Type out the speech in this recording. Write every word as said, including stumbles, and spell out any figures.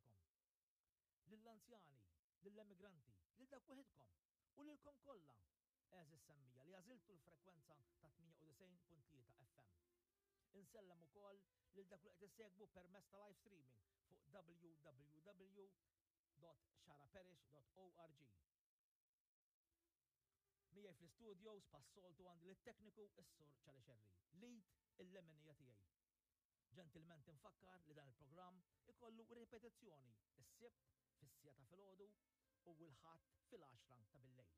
Djarkom. Lill-anzjani, lill-emigranti, lil dawk weħidkom u lilkom kollha, għeżież semmiegħa li għażiltu l-frekwenza ta' tmienja u disgħin punt tlieta F M. Insellem ukoll lil dak li qed issegwu permezz ta' live streaming fuq W W W dot xagħraparish dot org. Miegħi fl-istudios bħas-soltu għandi lit-tekniku is-Sur Ċali Xerri, l-id il-leminija tiegħi. Ġentilment infakkar li dan il-programm ikollu ripetizzjoni is-Sibt fis-siegħa ta' filgħodu u l-Ħadd fil-għaxra ta' billejl.